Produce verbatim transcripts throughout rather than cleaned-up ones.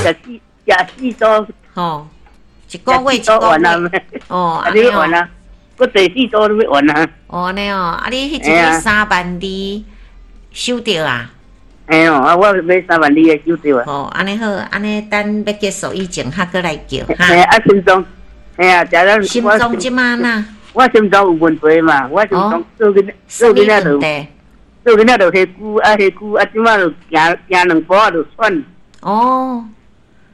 食四食四組。吼，一個月一個月。哦，按呢完啊，閣第四組都欲完啊。哦，按呢哦，啊你彼一個三萬二收著啊？嘿哦，啊我買三萬二的收著啊。哦，按呢好，按呢等欲結束以前，較閣來叫哈。嘿，啊心臟，嘿啊，食咱心臟這馬哪？我心臟有問題嘛，我心臟做囡做囡仔就做囡仔就下久啊下久啊，這馬就行行兩步啊就喘。哦。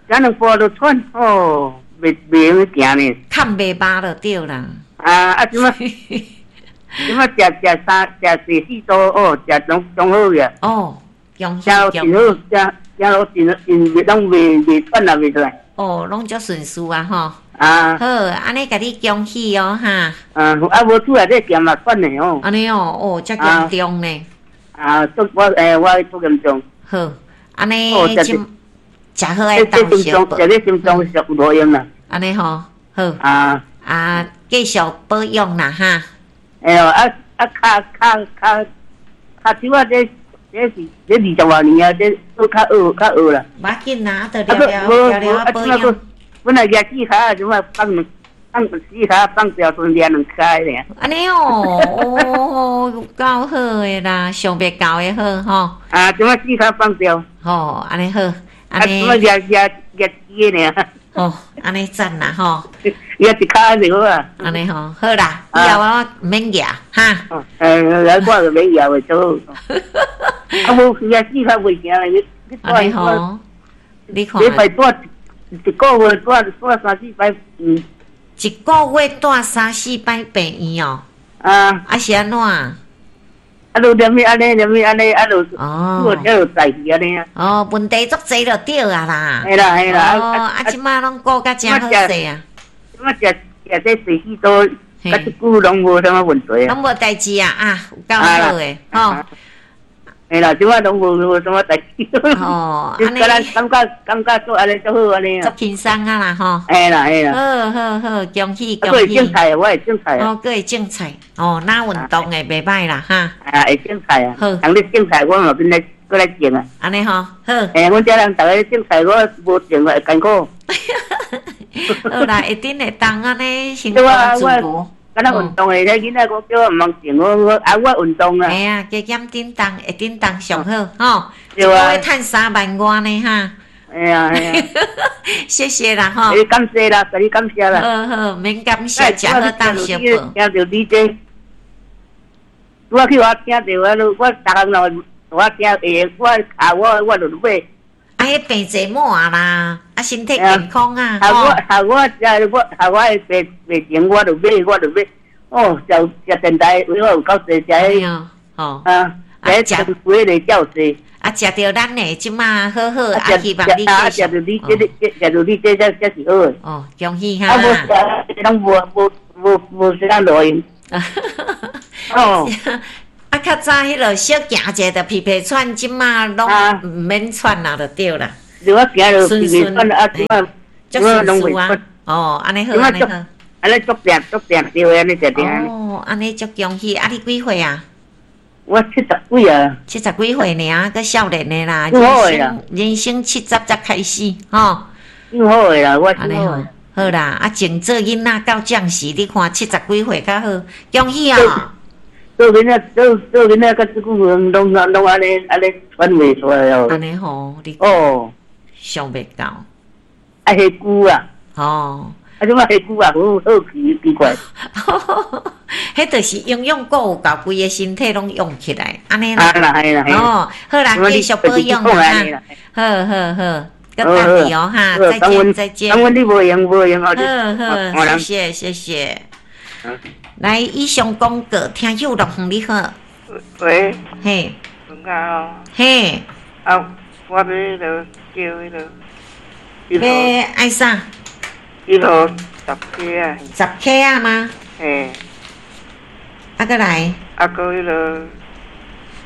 行兩步就喘，哦，袂袂用行呢。崁袂飽就對啦。啊啊！這馬這馬食食三食四四組哦，食攏攏好個。哦，恭喜食真好，食食落真真攏袂袂喘啊，袂出來。哦，攏足順遂啊吼。啊。好，按呢共你恭喜哦哈。啊，啊無厝內底行嘛喘的哦。按呢哦，哦，遮嚴重呢。啊，足我欸，我足嚴重。好，按呢這食好愛當小食咧心臟上有路用啦。按呢吼，好。啊。啊，繼續保養啦哈。哎喲，啊啊，跤跤跤跤手啊，這這是這二十外年啊，這閣較惡較惡啦。無要緊啦，就了了了了保養。本來舉四跤，這馬放放四跤放掉，剩舉兩跤爾。按呢哦，哦，有夠好的啦，想袂到的好吼。啊，這馬四跤放掉。吼，按呢好，按呢。啊，這馬舉舉舉幾個爾。哦，按呢讚啦吼。舉一跤就好啊。按呢吼，好啦，以後我毋免舉哈。呃，我就免舉就好。啊，無舉四跤袂行咧，你按呢吼，你看。禮拜蹛一個月蹛蹛三四擺，嗯。一個月蹛三四擺病院哦。啊。啊是按怎？啊，就連續按呢，連續按呢，啊就，哦，就在去按呢啊。哦，問題足濟就對啊啦。嘿啦嘿啦。哦，啊，這馬攏顧甲誠好勢啊。這馬食食這四四組，較這久攏無啥物問題啊。攏無代誌啊，啊，有夠好的，吼。嘿啦，這馬攏無無啥物代誌。哦，按呢，感覺感覺做按呢足好按呢啊。足輕鬆啊啦，吼。嘿啦嘿啦。好好好，恭喜恭喜。閣會種菜，我會種菜。哦，閣會種菜，哦，若運動的袂䆀啦，哈。啊，會種菜啊。好。人咧種菜，我嘛變來閣來種啊。按呢吼，好。嘿，阮遮人逐个種菜，我無種會艱苦。好啦，一定會當按呢生活自如。敢若運動的，彼囡仔講叫我毋通種，我我啊我運動啊。嘿啊，加減振動，會振動上好吼。對啊。一個月趁三萬外呢哈。嘿啊嘿啊。謝謝啦吼。你感謝啦，共你感謝啦。好好，免感謝，食好當相報。聽著你這，我去我聽著，我我逐工咯，我聽會，我啊我我就買。啊，彼病濟滿啦，啊，身體健康啊，吼。我我食我我的病病情，我就買，我就買。哦，食食電台，為我有夠濟食彼，吼啊，食食幾个較濟。啊，食著咱的這馬好好，啊，希望你啊，食著你這個，食著你這才才是好的。哦，恭喜哈！啊，無食，攏無無無無啥路用。哦。啊，較早彼落小行者就皮皮喘，這馬攏毋免喘啊，就對啦。對我行就皮皮喘啊，這馬足順順啊。哦，按呢好，按呢好。按呢足定足定對按呢定定。哦，按呢足恭喜！啊，你幾歲啊？我七十幾啊。七十幾歲爾，閣少年的啦。人生人生七十才開始，吼。挺好的啦，我按呢好，好啦，啊，種做囡仔到將時，你看七十幾歲較好，恭喜啊！做囡仔做做囡仔，較這久攏攏攏按呢按呢喘袂出來哦。按呢吼，你哦，想袂到。啊，下久啊。哦。啊，這馬下久啊，好好奇奇怪。彼就是營養閣有夠，規個身體攏用起來，按呢啦。啊啦，係啦，哦，好啦，繼續保養啦。好好好，閣等你哦哈，再見再見。感恩你無閒無閒好好，謝謝謝謝。來，以上廣告，聽友樂園你好。喂。嘿。文佳哦。嘿。啊，我欲彼落叫彼落。欲愛啥？彼落十克啊。十克啊嗎？嘿。啊，閣來。啊，閣彼落。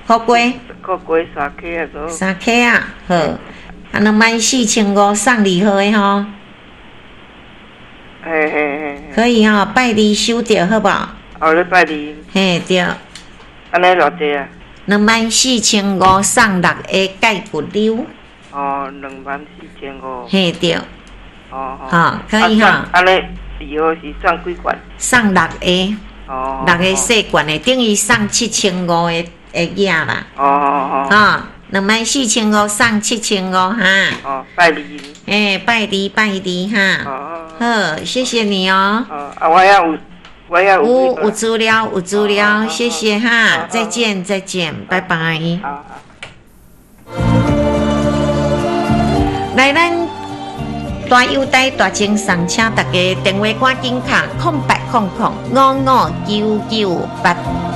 苦瓜。苦瓜三克啊，閣。三克啊，好。啊，兩萬四千五送二號的吼。嘿嘿嘿。可以吼，拜二收著好無？哦，禮拜二。嘿，對。按呢偌濟啊？兩萬四千五送六个蓋骨溜。哦，兩萬四千五。嘿對。哦。好，可以哈。按呢，二號是送幾罐？送六個。哦。六個細罐的，等於送七千五个的額啦。哦哦哦。哈，兩萬四千五送七千五哈。哦，拜二。欸，拜二拜二哈。哦。好，謝謝你哦。哦，啊，我也有，我也有。有有資料，有資料，謝謝哈，再見再見，拜拜。好。來，咱大優待大贈送，請大家電話趕緊敲空八空空五五九九八。